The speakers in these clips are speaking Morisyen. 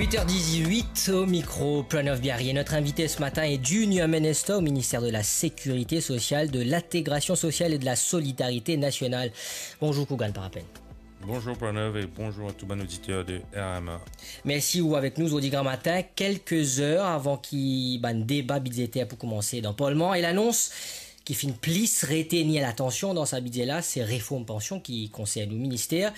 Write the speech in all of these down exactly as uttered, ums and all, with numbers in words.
Huit heures dix-huit au micro, Pranav Biaria. Notre invité ce matin est Junior Minister au ministère de la Sécurité sociale, de l'Intégration sociale et de la Solidarité nationale. Bonjour Kugan Parapen. Bonjour Pranav et bonjour à tous les auditeurs de R M A. Mersi ou avek nou zordi gramatin, kelke zer avan ki bann deba bidzeter pou koumanse dan Parlman. E lanons ki finn plis retenir latansion dan sa bidze la, se reform pansion ki konsern nou minister,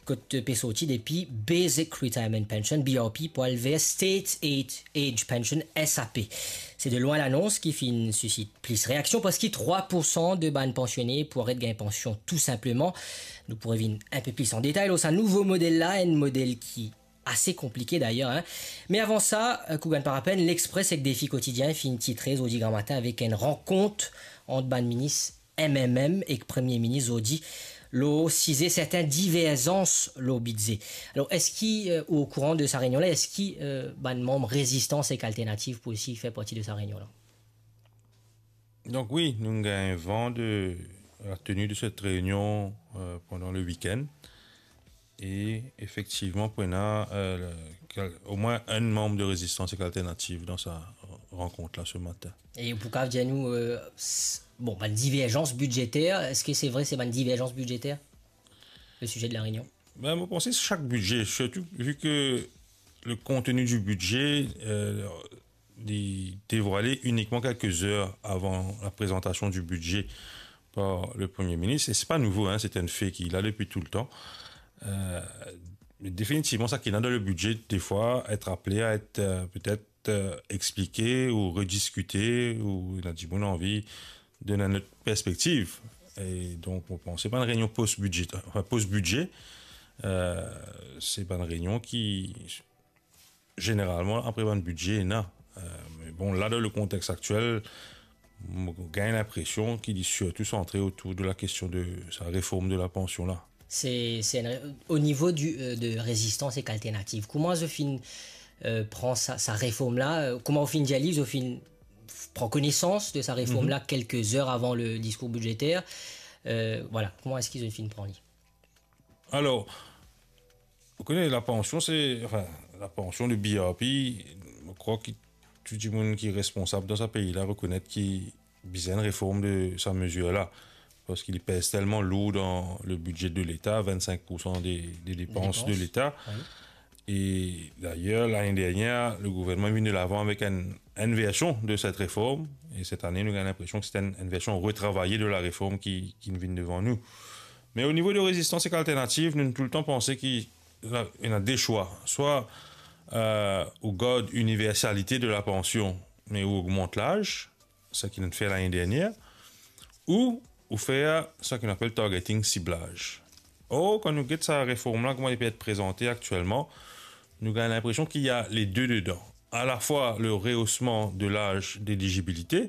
kot pe sorti depi Basic Retirement Pension, B R P, pou al ver State Age, Age Pension, S A P. Se de lwin lanons ki finn sisit plis reaksion, parski trwa poursan de bann pansione pou aret gagn pansion tou sinpleman. Nou pou revinn inpe plis an detay lor sa nouvo model la, enn model ki ase konplike dayer, hein. Me avan sa, euh, Kugan Parapen, L'Express ek Défi Quotidien finn titre zordi gramatin avek enn rankont ant bann minis M M M ek Premie Minis zordi lor size sertin diverzans lor bidze. Alor, eski, euh, ou okouran de sa reynion la? Eski, euh, bann manm Rezistans ek Alternativ pou osi fer parti de sa reynion la? Donc oui, nous gagnons vent de la tenue de cette réunion, euh, pendant le week-end. Et effectivement, pour ena, euh, le- quel- au moins un membre de Résistance et Alternative dans sa rencontre-là ce matin. E ou pou kapav dir nou, euh, s- bon, bann diverzans bidzeter, eski se vre se bann diverzans bidzeter, le sujet de la réunion? Ben, mo panse chak bidze, sirtou vi ki le kontni di bidze, euh, li devwale inikman kelke zer avan la prezantasion di bidze par le Premie Minis. E se pa nouvo, hein, se enn fe ki la depi toultan. Euh, definitivman, sa ki ena dan le bidze, defwa, et apele a et, euh, petet, euh, explike ou rediskite, ou ena dimoun anvi donn enn lot perspektiv. E donk, mo panse se pa enn reynion post-bidze, enfin, post-bidze, euh, se pa enn reynion ki zeneralman apre bann bidze ena. Euh, me bon, la, dan le kontex aktiel, mo gagn linpresion ki li sirtou santre otour de la kestion de sa reform de la pansion la. Se, se enn re- o nivo di, euh, de Rezistans ek Alternativ, kouma zot finn, euh, pran sa, sa reform la, euh, kouma ou finn dir li, zot finn pran konesans de sa reform la kelke zer avan le diskour bidzeter? Euh, voilà, kouma eski zot finn pran li? Alor, ou kone, la pansion, se, enfin, la pansion de B R P, mo krwar ki tou dimoun ki responsab dan sa pei la rekonet ki bizin reform de sa mezir la, parski li pez telman lour dan le bidze de Leta, vinn-sink poursan de, de depans de Leta. E dayer, lane dernie, le gouvernman vinn de lavan avek enn, enn version de set reform, e set ane, nou gagn linpresion ki se enn, enn version retravaye de la reform ki, ki vinn devan nou. Me o nivo de Rezistans ek Alternativ, nou toultan panse ki la, ena de swa. Swa, euh, ou gard iniversalite de la pansion, me ou ogmant laz, sa ki nou fer lane dernie, ou, ou fer sa ki nou apel targeting, siblaz. Or, kan nou get sa reform la, kouma li pe et prezante aktielman, nou gagn linpresion ki ena le de dedan. A la fwa le reosman de laz delizibilite,